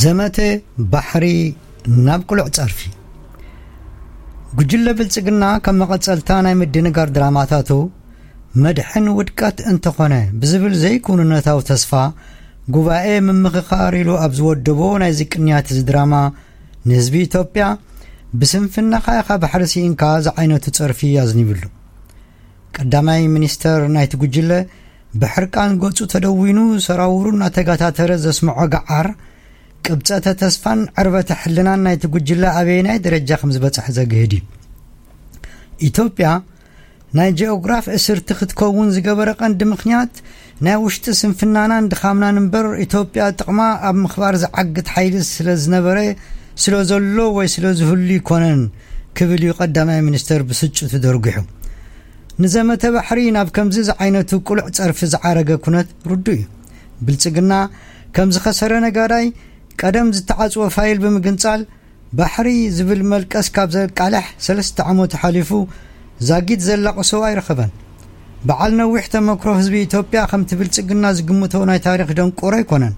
ዘመተ ባሕሪ ናብ ቅሉዕ ጸርፊ። ጉጅለ ብልጽግና ከም መቐጸልታ ናይ ምድንጋር ድራማታቱ፣ መድሕን ውድቀት እንተኾነ ብዝብል ዘይኩንነታዊ ተስፋ፣ ጉባኤ ምምኽኻር ኢሉ ኣብ ዝወደቦ ናይ ዝቅንያት እዚ ድራማ፣ ንህዝቢ ኢትዮጵያ፣ "ብስንፍናኻ ኢኻ ባሕሪ ስኢንካ" ዝዓይነቱ ጸርፊ ኣዝኒብሉ። ቀዳማይ ሚኒስተር ናይቲ ጉጅለ፣ ብሕርቃን ገጹ ተደዊኑ፣ ሰራውሩ እናተጋታተረ ዘስምዖ ገዓር፣ ቅብጸተ ተስፋን ዕርበተ ሕልናን ናይቲ ጉጅለ ኣበየናይ ደረጃ ከም ዝበጽሐ ዘግህድ እዩ። ኢትዮጵያ ናይ ጂኦግራፍ እስርቲ ክትከውን ዝገበረ ቀንዲ ምኽንያት፣ ናይ ውሽጢ ስንፍናናን ድኻምናን እምበር፣ ኢትዮጵያ ጥቕማ ኣብ ምኽባር ዝዓግት ሓይሊ ስለ ዝነበረ፣ ስለ ዘሎ ወይ ስለ ዝህሉ ይኮነን ክብል እዩ ቀዳማይ ሚኒስተር ብስጭቱ ደርጒሑ። ንዘመተ ባሕሪ ናብ ከምዚ ዝዓይነቱ ቅሉዕ ጸርፊ ዝዓረገ ኩነት ርዱእ እዩ። ብልጽግና ከም ዝኸሰረ ነጋዳይ፣ ቀደም ዝተዓጽወ ፋይል ብምግንጻል፣ ባሕሪ ዝብል መልቀስ ካብ ዘቃልሕ ሰለስተ ዓመት ሓሊፉ፣ ዛጊት ዘላቕሶ ኣይረኸበን። በዓል ነዊሕ ተመክሮ ህዝቢ ኢትዮጵያ ከምቲ ብልጽግና ዝግምቶ ናይ ታሪኽ ደንቆሮ ኣይኮነን።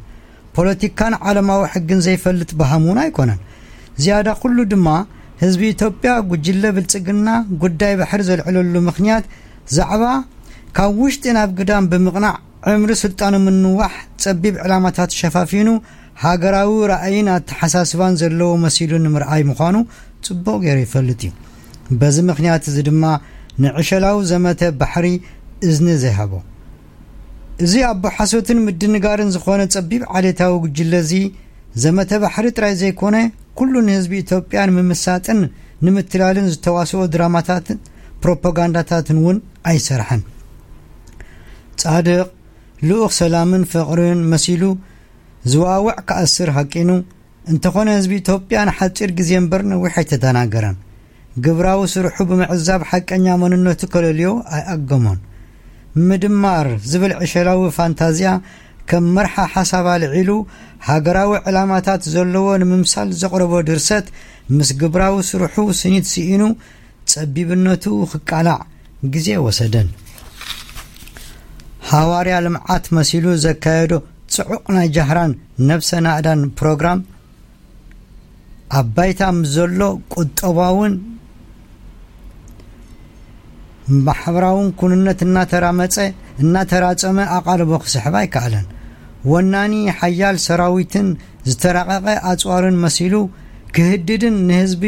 ፖለቲካን ዓለማዊ ሕግን ዘይፈልጥ በሃም እውን ኣይኮነን። ዝያዳ ኩሉ ድማ፣ ህዝቢ ኢትዮጵያ ጉጅለ ብልጽግና ጉዳይ ባሕሪ ዘልዕለሉ ምኽንያት፣ ዛዕባ ካብ ውሽጢ ናብ ግዳም ብምቕናዕ፣ ዕምሪ ስልጣኑ ምንዋሕ፣ ጸቢብ ዕላማታት ሸፋፊኑ፣ ሃገራዊ ራእይን ኣተሓሳስባን ዘለዎ መሲሉ ንምርኣይ ምዃኑ ጽቡቕ ገይሩ ይፈልጥ እዩ። በዚ ምኽንያት እዚ ድማ፣ ንዕሸላዊ ዘመተ ባሕሪ እዝኒ ዘይሃቦ። እዚ ኣቦ ሓሶትን ምድንጋርን ዝኾነ ጸቢብ ዓሌታዊ ጉጅለ እዚ፣ ዘመተ ባሕሪ ጥራይ ዘይኮነ፣ ኩሉ ንህዝቢ ኢትዮጵያ ንምምሳጥን ንምትላልን ዝተዋስኦ ድራማታትን ፕሮፓጋንዳታትን እውን ኣይሰርሐን። ጻድቕ፣ ልኡኽ ሰላምን ፍቕርን መሲሉ ዝዋውዕ ክኣስር ሃቂኑ፣ እንተኾነ ህዝቢ ኢትዮጵያ ንሓጺር ግዜ እምበር ነዊሕ ኣይተደናገረን። ግብራዊ ስርሑ ብምዕዛብ ሓቀኛ መንነቱ ከለልዮ ኣይኣገሞን። ምድማር ዝብል ዕሸላዊ ፋንታዝያ ከም መርሓ ሓሳብ ኣልዒሉ፣ ሃገራዊ ዕላማታት ዘለዎ ንምምሳል ዘቕረቦ ድርሰት፣ ምስ ግብራዊ ስርሑ ስኒት ስኢኑ፣ ጸቢብነቱ ክቃላዕ ግዜ ወሰደን። ሃዋርያ ልምዓት መሲሉ ዘካየዶ ጽዑቕ ናይ ጃህራን ነብሰ ናእዳን ፕሮግራም፣ ኣብ ባይታ ምስ ዘሎ ቁጠባውን ማሕበራውን ኩንነት እናተራመጸ፣ እናተራጸመ ኣቓልቦ ክስሕብ ኣይከኣለን። ወናኒ ሓያል ሰራዊትን ዝተራቐቐ ኣጽዋርን መሲሉ ክህድድን ንህዝቢ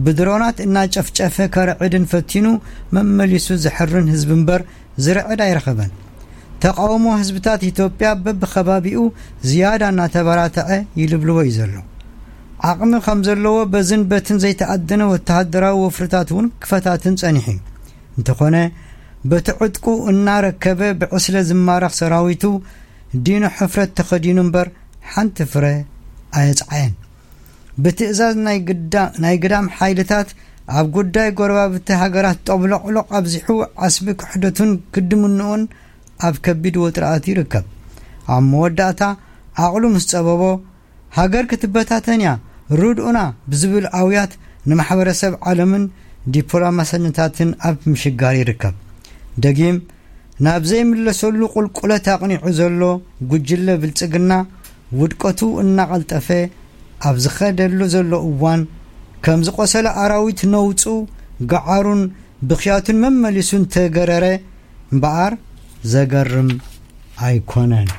ብድሮናት እናጨፍጨፈ ከርዕድን ፈቲኑ፣ መመሊሱ ዝሕርን ህዝቢ እምበር ዝርዕድ ኣይረኸበን። ተቓውሞ ህዝብታት ኢትዮጵያ በብኸባቢኡ ዝያዳ እናተበራተዐ ይልብልዎ እዩ ዘሎ። ዓቕሚ ከም ዘለዎ በዝን በትን ዘይተኣደነ ወተሃደራዊ ወፍርታት እውን ክፈታትን ጸኒሑ እዩ። እንተኾነ፣ በቲ ዕጥቁ እናረከበ ብዕስለ ዝማረኽ ሰራዊቱ ዲኖ ሕፍረት ተኸዲኑ እምበር ሓንቲ ፍረ ኣየጽዓየን። ብትእዛዝ ናይ ግዳ-፣ ናይ ግዳም ሓይልታት ኣብ ጉዳይ ጎረባብቲ ሃገራት ጠብሎቕሎቕ ኣብዚሑ ዓስቢ ክሕደቱን ክድምንኡን ኣብ ከቢድ ወጥሪ ኣትዩ ይርከብ። ኣብ መወዳእታ ዓቕሉ ምስ ጸበቦ፣ ሃገር ክትበታተን እያ፣ ርድኡና ብዝብል ኣውያት ንማሕበረሰብ ዓለምን ዲፕሎማሰኛታትን ኣብ ምሽጋር ይርከብ። ደጊም ናብ ዘይምለሰሉ ቁልቁለት ኣቕኒዑ ዘሎ ጉጅለ ብልጽግና፣ ውድቀቱ እናቐልጠፈ ኣብ ዝኸደሉ ዘሎ እዋን፣ ከም ዝቆሰለ ኣራዊት ነውጹ፣ ገዓሩን ብኽያቱን መመሊሱ እንተገረረ እምበኣር ዘገርም ኣይኮነን።